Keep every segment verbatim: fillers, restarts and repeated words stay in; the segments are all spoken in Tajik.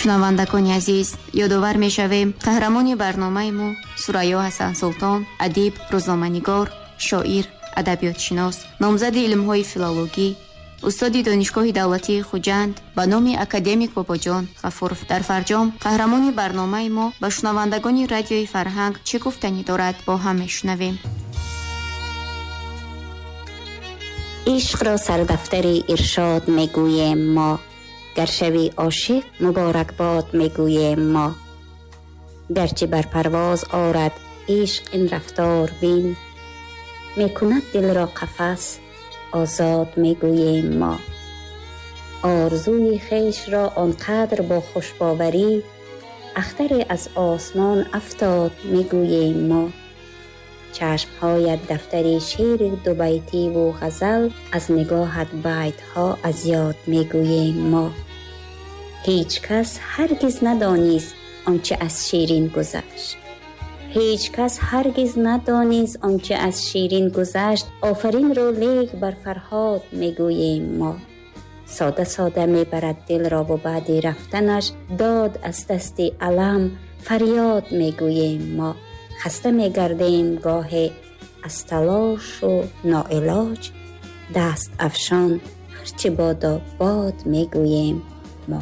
Шунавандагони азиз, ёдовар мешавем, қаҳрамони барномаи мо Сурайё Ҳасансултон, адиб, рӯзноманигор, шоир, адабиётшинос, номзади илмҳои филологӣ, устоди Донишгоҳи давлатии Хуҷанд ба номи академик Бобоҷон Ғафуров. Дар фарҷом қаҳрамони барномаи мо ба шунавандагони Радиои Фарҳанг чӣ гуфтанӣ дорад, бо ҳам мешунавем. Ишқро сардафтари иршод мегӯем мо, гар шавӣ ошиқ муборакбод мегӯем мо. Гарчи бар парвоз орад ишқ ин рафтор бин, мекунад дилро қафас озод мегӯем мо. Орзуи хешро он қадр бо хушбоварӣ, ахтаре аз осмон афтод мегӯем мо. Чашмҳоят дафтари шеъри дубайтиву ғазал, аз нигоҳат байтҳо аз ёд мегӯем мо. Ҳеҷ кас ҳаргиз надонист он чӣ аз Ширин гузашт. Ҳеҷ кас ҳаргиз надонист он чӣ аз Ширин гузашт. Офаринро лек бар Фарҳод мегӯем мо. Сода сода мебарад дилро ва баъди рафтанаш дод аз дасти алам фарёд мегӯем мо. Хаста мегардем гоҳе аз талошу ноилоҷ, даст афшон ҳарчи бодо бод мегӯем мо.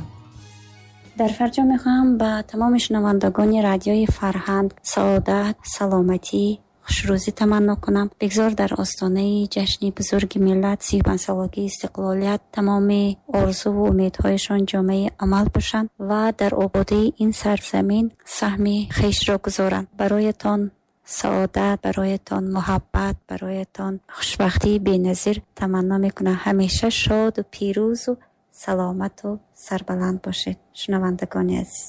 Дар фарҷом мехоҳам ба тамоми шунавандагони Радиои Фарҳанг саодат, саломатӣ, хушрӯзӣ таманно кунам. Бигзор дар остонаи ҷашни бузурги миллат, сию панҷсолагии истиқлолият, тамоми орзуву умедҳояшон ҷомаи амал бошанд ва дар ободии ин сарзамин саҳми хешро гузоранд. Бароятон саодат, бароятон муҳаббат, бароятон хушбахтии беназир таманно мекунам. Ҳамеша шоду пирӯзу саломату сарбаланд бошед, шунавандагони азиз.